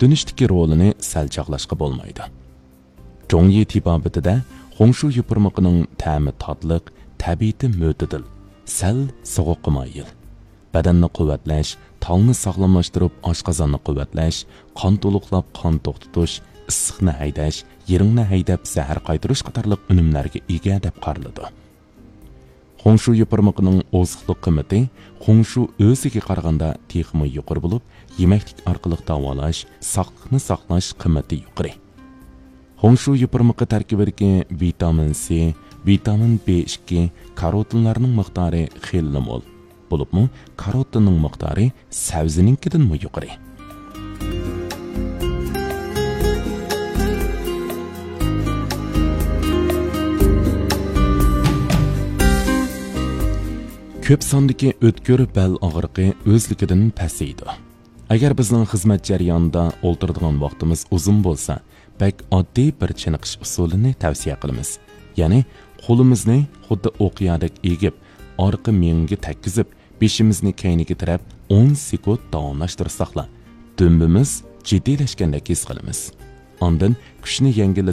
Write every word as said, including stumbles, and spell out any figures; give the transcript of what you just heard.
تۈنۈشتىكى رولىنى سەل چاغلاشقا بولمايدۇ. جۇڭيى تېبابىتىدە خۇڭشۇ يوپۇرمىقىنىڭ تەمى تاتلىق، تەبىئىتى مۆتىدىل، سەل سوغۇققا مايىل. بەدەننى قۇۋۋەتلەش، تالنى ساغلاملاشتۇرۇپ، ئاشقازاننى قۇۋۋەتلەش، قان تولۇقلاپ، قان توختىتىش، ئىسسىقنى ھەيدەش، يىرىڭنى ھەيدەپ، زەھەر قايتۇرۇش قاتارلىق ئۈنۈملەرگە ئىگە دەپ قارىلىدۇ. خۇڭشۇ يوپۇرمىقىنىڭ ئوزۇقلۇق قىممىتى خۇڭشۇ ئۆزىگە قارىغاندا تېخىمۇ يۇقىرى بولۇپ، يېمەكلىك ئارقىلىق داۋالاش، ساقلىقنى ساقلاش قىممىتى يۇقىرى. خۇڭشۇ يوپۇرمىقى تەركىبىدىكى ۋىتامىن سى، ۋىتامىن بى ئىككى، كاروتىنلارنىڭ مىقدارى خېلىلا مول. بولۇپمۇ كاروتىننىڭ مىقدارى سەۋزىنىڭكىدىنمۇ يۇقىرى. كۆپ ساندىكى ئۆتكۈر بەل ئاغرىقى ئۆزلۈكىدىن پەسىيىدۇ. ئەگەر بىزنىڭ خىزمەت جەريانىدا ئولتۇرىدىغان ۋاقتىمىز ئۇزۇن بولسا، بەك ئاددىي بىر چېنىقىش ئۇسۇلىنى تەۋسىيە قىلىمىز. يەنى قولىمىزنى خۇددى ئوقيادەك ئېگىپ، ئارقا مېڭىگە تەگكۈزۈپ، بېشىمىزنى كەينىگە تىرەپ ئون سېكۇنت داۋاملاشتۇرساقلا، دۈمبىمىز جىددىيلەشكەندەك ھېس قىلىمىز. ئاندىن كۈچنى يەڭگىللىتىپ،